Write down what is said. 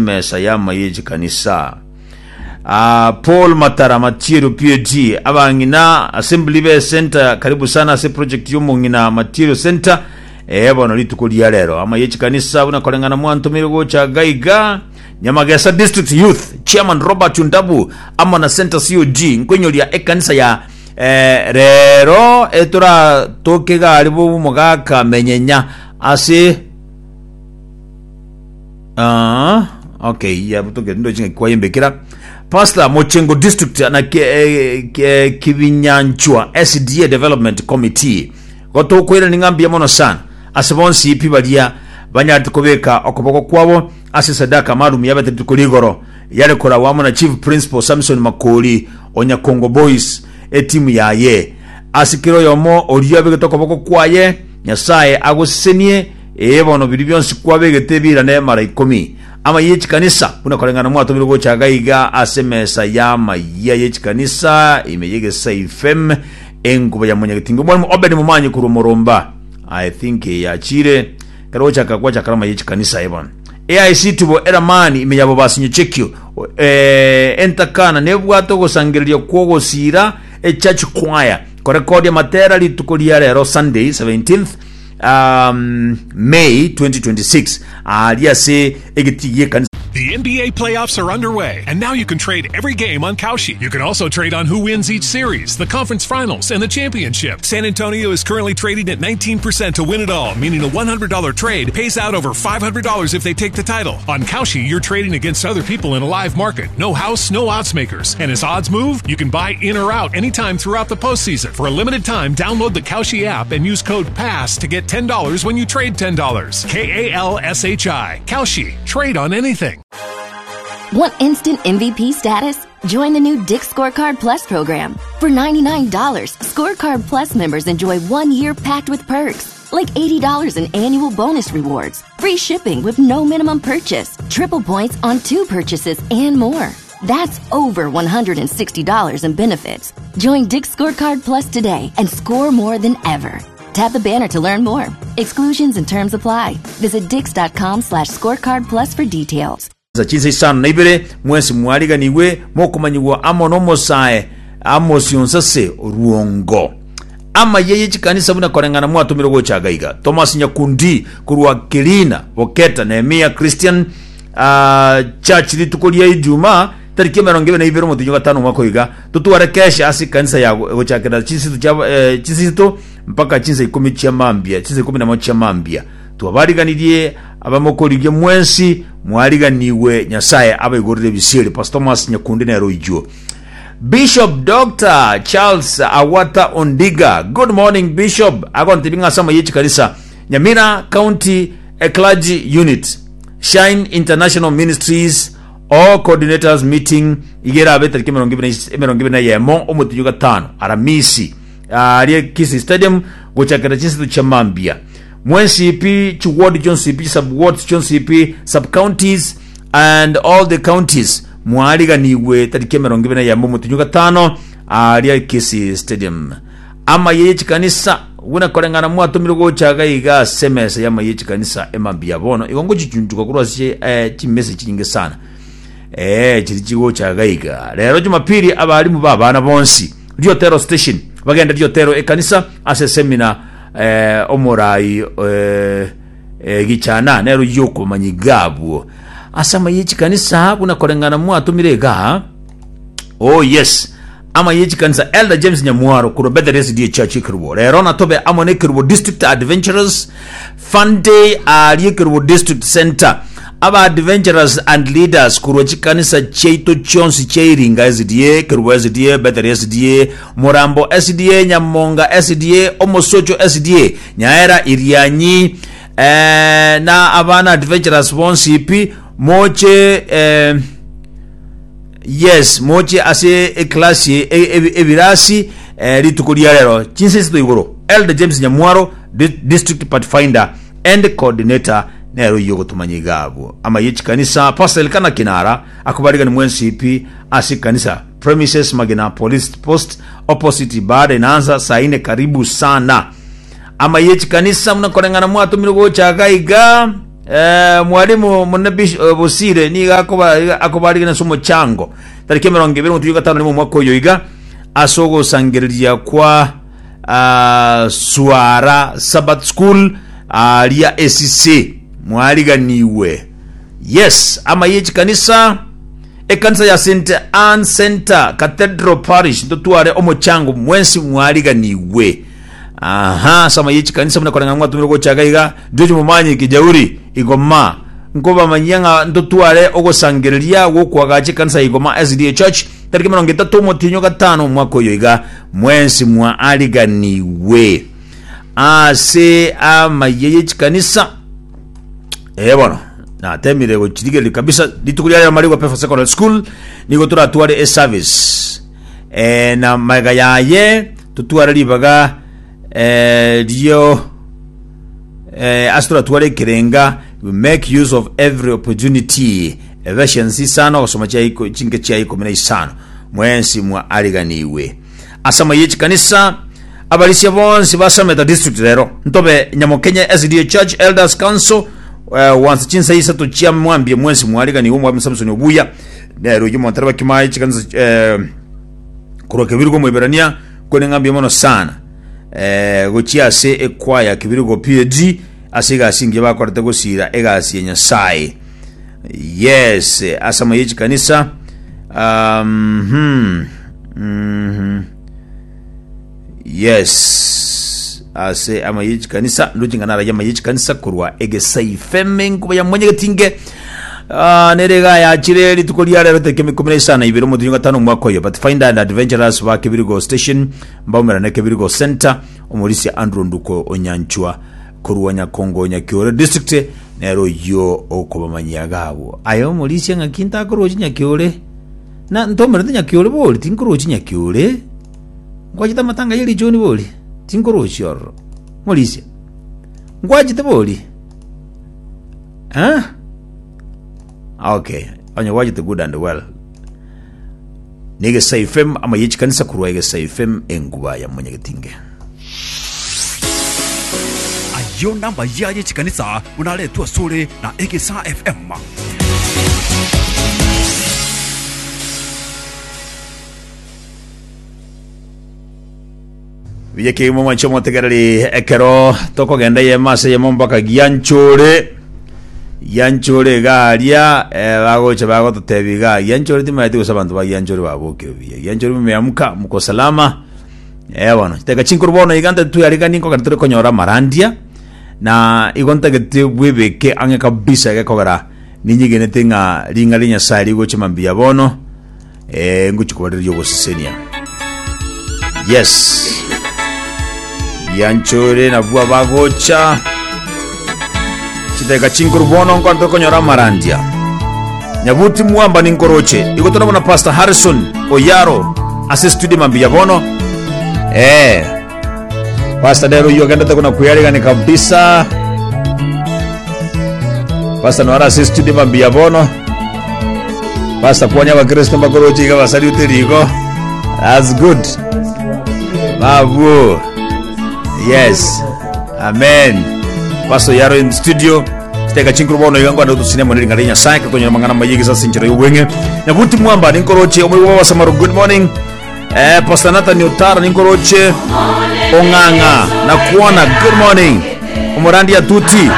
emesa y'amaiyo ye chikanisa. Ah, Paul Matara Matiero PAG, abang'ina assembly be center karibu sana ase project y'omong'ina Matiero Center. Eh, bono rituko ria rero amaiyo ye chikanisa buna koreng'ana mwantomire gocha gaiga Nyamagesa District Youth Chairman Robert Ondabu amo na Center COG nkoinyoria ekanisa ya eh, rero etoratoke gari bw'omogaka menyenya ase Ah, okay, ya butoke ndo chinga kwayembekera. Pastor Mochengo District na ke, eh, ke, Kibinyanchwa SDA Development Committee. Gotokoira ninga mbuya mono sana ase bonsi pi baria banyarete kobeka okoboko kwabo ase sadaka maalum yabete rituko rigoro yare koragwa amo na Chief Principal Samson Makori o Nyakongo Boys etimu yaye. Ase kera oyomo oria abegete okoboko kwaye Nyasae agosesenie Ee bono biria bionsi kwabegete birane mara ikomi. Amayia ye chikanisa, buna koreng'ana mwatomirwe gocha iga iga ase emesa y'amayia ye chikanisa ime y'egesaifem enkuba ya monyagetinga omwalimu Obed Momanyi korwa Omoromba. I think eye yachire ekero gochaka gwachakera amayia ye chikanisa ee bono. AIC Tubo Eramani ime ya Bobasi Nyachekio eh, entakana nebwate ogosangereria kw'ogosiira echurch choir korekodia amatera rituko ria rero Sunday 17th um, May 2026 aaria ase egetii gi'ekanisa The NBA playoffs are underway, and now you can trade every game on Kalshi. You can also trade on who wins each series, the conference finals, and the championship. San Antonio is currently trading at 19% to win it all, meaning a $100 trade pays out over $500 if they take the title. On Kalshi, you're trading against other people in a live market. No house, no odds makers. And as odds move, you can buy in or out anytime throughout the postseason. For a limited time, download the Kalshi app and use code PASS to get $10 when you trade $10. K A L S H I. Kalshi. Trade on anything. Want instant MVP status? Join the new Dick Scorecard Plus program. For $99, Scorecard Plus members enjoy one year packed with perks, like $80 in annual bonus rewards, free shipping with no minimum purchase, triple points on two purchases, and more. That's over $160 in benefits. Join Dick Scorecard Plus today and score more than ever. Tap the banner to learn more. Exclusions and terms apply. Visit dix.com slash scorecard plus for details. Chinsa isano na ibere mwensi mwariganigwe mokomanyigwa amo n'omosae Amos Onsase Oruongo. Amayia ye chikanisa buna koreng'ana mwatomirwe gocha agaiga. Thomas Nyakundi korwa Kirina Boketa Nehemia Christian ah, Church rituko ria Ijumaa tariki emerongo ebere na ibere omotienyi o gatano omwaka oyo iga totware kesha ase ekanisa ya gochakera chinsa chia eh, chinsa isato mpaka chinsa ikomi chia mambia chinsa ikomi namo chia mambia twabariganirie abamokorigia mwensi mwariganigwe Nyasaye abaigorere ebisieri Pastor Thomas Nyakundi nere oijuo Bishop Doctor Charles Awata Ondiga good morning Bishop agontebia ng'a ase amaye chikanisa Nyamira County Clergy Unit Shine International Ministries All Coordinators Meeting iga erabe etariki emerongo ebere emerongo ebere na eyemo omotienyi o gatano Aramisi aria Kisii Stadium gochakera chinseto chia mambia mwensi pi chiward chionsi pi sub wards chionsi pi sub counties and all the counties mwariganigwe tariki emerongo ebere na eyemo omotienyi o gatano aria Kisii Stadium amaye ye chikanisa buna koreng'ana mwatomirwe gocha iga iga ase emesa y'amaye ye chikanisa emambia bono igo ngochichunchuka korwa ase eh, chimesa chinyinge sana eh, chiri chigocha iga iga rero jumapili abarimu ba abana bonsi Riotero station bagende Riotero ekanisa ase semina eh, omorai eh, eh, gichana nero yokomanya iga abwo ase amaye ye chikanisa buna koreng'ana mwatomire iga Oh yes. Ama ye chikanisa Elder James Nyamwaro korwa Bethel SDA Church Ekerubo. Rero natobe amo ne Ekerubo District Adventurers Fun Day aria Ekerubo District Center. Aba adventurers and leaders korwa chikanisa chiaito chionsi chia Iringa SDA, Kerubo SDA, Bethel SDA, Murambo SDA, Nyamonga SDA, Omosocho SDA, Nyaera Irianyi eh, na abana adventurers bonsi pi moche eh, Yes, moche ase eclass e- e- ebirasi eh, rituko ria rero chinsa isato igoro. Elder James Nyamwaro, Di- District Pathfinder and Coordinator nero oyio ogotomanya iga abwo. Amaye chikanisa Pastor Elkana Kinara akobarigani mwensi pi ase ekanisa premises Magena Police Post opposite ibada inaanza saa ine karibu sana. Amaye chikanisa muna koreng'ana mwatomirwe gocha iga iga. Eh, mwalimu monene Bish- eh, Bosire nigo akoba akobarigana ase omochango tariki 21 omotienyi o gatano rimo omwaka oyo iga ase ogosangereria kwa ah, Suara Sabbath School aria esise mwariganiwe. Yes, amaye echikanisa ekanisa ya St Anne Center Cathedral Parish ntotware omochango mwensi mwariganiwe. Aha, ase amaye echikanisa buna koreng'ana mwatumire gochaka iga George Momanyi Kijauri Igoma nkobamanyia ng'a ntotware ogosangereria gwokoagacha ekanisa ya Igoma SDA Church tariki 30 omotienyi o gatano omwaka oyo iga mwensi mwaariganiwe ase amayia ye chikanisa. Ee bono natemire gochirigereria kabisa rituko ria rero Marigwa Pefa Secondary School nigo toratware eservice eh, na magega yaye totware ribaga eh, rio eh, ase toratware ekerenga we make use of every opportunity Ephesians isano gosoma chia iko- chinke chia ikomi na isano mwensi mwaariganiwe ase amaye chikanisa abarisia bonsi ba Sameta district rero ntobe Nyamokenye SDA Church Elders Council eh, wansa chinsa isato chia mwambie mwensi mwariganiwe omwami Samson Obuya nero oyio montare bakimaye chikanisa eh, korwa Kebirigo Moiberania kore ng'ambie mono sana eh, gochia ase ekwaya Kebirigo PAG ase egasi engiya bakorete gosira egasi ya Nyasaye yes ase amaye chikanisa um, hmm, mm Yes, ase amaye chikanisa ndoche ng'a naraye amaye chikanisa korwa egesaifeme enkuba ya mwanyagetinge Ah, nere iga yachire rituko ria rero tariki ikomi na isano na ibere omotienyi o gatano omwaka oyo Pathfinder and Adventurers ba Kebirigo Station mbaumerane Kebirigo Center omorisia Andrew Nduko Onyanchwa korwa Nyakongo Nyakiore District nere oyio okobamanyia iga abwo aye omorisia ng'aki ntakorochi Nyakiore na ntomerete Nyakiore bori tinkorochi Nyakiore Nkwachete amatanga ye richoni bori? Tinkorochia ororo. Morisia. Nkwachete bori? Eh? Okay. Onye gwachete good and well. Negesai FM ama ye chikanisa korwa Egesai FM enguba ya Mwanyagetinge. Ayio namaya ye chikanisa buna aretwe asore na Egesaa FM. Buya kegima mwanche omotegereri ekero tokogenda eyemo ase eyemo mpaka gianchore gianchore iga aria eh, bagocha bagototebia iga gianchore timaeti gose abanto ba gianchore babokire buya gianchore mumeamka muko salama eh bono chiteka chinkuru bono iga nte tweariganie nkogenda tore konyora amarandia na igo ntagete bwebeke ang'e kabisa gekogera ninyegenete ng'a ring'ana ria Nyasaye rigocha mambia bono Eh, ngochia kobareria ogosesenia. Yes. Gianchore nabwo abagocha. Chidakika chinkuru bono nkonto konyora amarandia. Nyabuti mwamba ninkoroche. Igo torabona Pastor Harrison Oyaro ase studio mambia bono. Eh. Pastor Dero oyio ogendete kona kweyarigani kabisa. Pastor noara ase studio mambia bono. Pastor kwanya abakristo mbakoroche iga basariute riko. That's good. Babu. Yes. Amen. Pastor Yaro in studio. Chiteka chinkuru bono iga ngwanda tusine mono ring'ana ria Nyasaye kakonyora mang'ana maye gesa sinchero y'obweng'e. Nyabuti mwamba ninkoroche omoigwa wa Samaru good morning. Eh, Pastor Nathan Otara ninkoroche ong'ang'a nakuona good morning. Omorandi atuti.